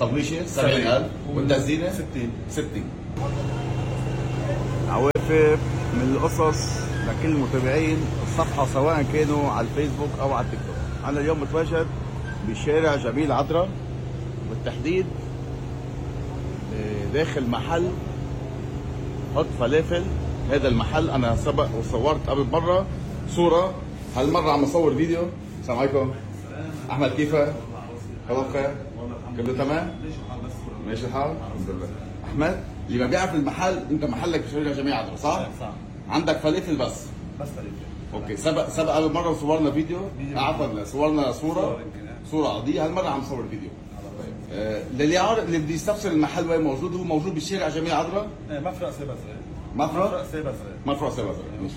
الصبيشه 70000 والتزيينه 60. عوافر من القصص لكل المتابعين الصفحة سواء كانوا على الفيسبوك أو على التيك توك. أنا اليوم متواجد بشارع جميل عذرا، بالتحديد داخل محل حط فلافل. هذا المحل أنا سبق وصورت قبل مرة صورة، هالمرة عم أصور فيديو. السلام عليكم. أحمد كيفك؟ خلاص خير؟ كله تمام؟ ماشي الحال؟ الحمد لله. أحمد اللي ما بيعرف المحل، أنت محلك بشارع جميل عذرا صح؟ صح. عندك فلافل بس فلافل. اوكي. سبق قبل مره وصورنا فيديو، عفوا صورنا صوره عاديه. هالمره عم نصور فيديو. للي عارف اللي بده يستفسر المحل وين موجود، هو موجود بشارع جميل عذرا، مفرق سيبا صغير. مفرق سيبا صغير. ماشي.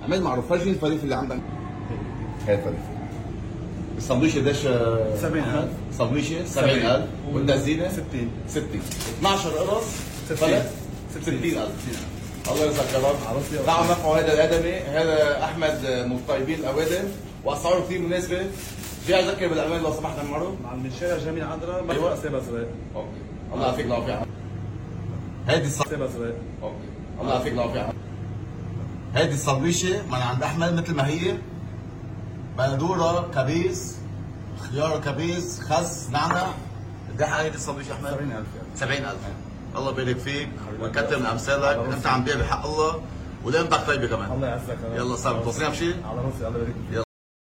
عمل معروف. فرجيني الفلافل اللي عندك. هاي الفلافل. السندويشه قديش؟ 70000. السندويشه 70000 والتزيينه 60. 12 قرص 60,000. الله يرزقك يا رب. تعالوا نرفعوا هذا الادمي. هذا احمد من طيبين الاوادم واسعاره كثير مناسبه. في اذكر بالامان لو سمحت معروف من شارع جميل عذرا مفرق سيبا صغير. اوكي. الله يعطيك العافيه. هيدي سيبا صغير. اوكي. الله يعطيك العافيه. هيدي الصبيشه من عند احمد مثل ما هي، بندوره، كبيس، خيار كبيس، خس، نعنع. قد ايه هيدي الصبيشه احمد؟ 70,000. الله يبارك فيك ويكتر من امثالك. انت عم تبيع بحق الله ولقيمتك طيبه كمان. الله يعزك. يلا صار توصينا بشيء؟ على راسي. الله يبارك فيك.